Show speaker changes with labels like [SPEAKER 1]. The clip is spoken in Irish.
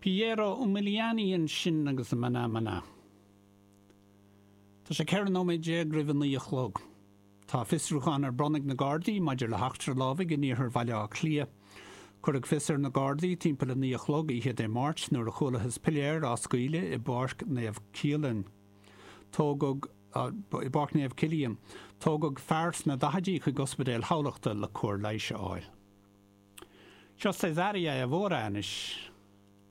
[SPEAKER 1] Piero Umiliani ansin agus Maná Maná. Tá sé 14 nóiméad roimh a 9 a chlog. Tá fiosrúchán ar bun ag na Gardaí maidir le heachtra lámhaigh in iarthar Bhaile Átha Cliath. Cuireadh fios ar na Gardaí timpeall a 9 a chlog oíche Dé Máirt nuair a chualathas piléar á scaoileadh i bPáirc Naomh Cialan. Tógadh i bPáirc Naomh Cillian. Tógadh fear sna daichidí chuig Ospidéal Thamhlachta le cóir leighis a fháil. Seo Cesária Évora anois.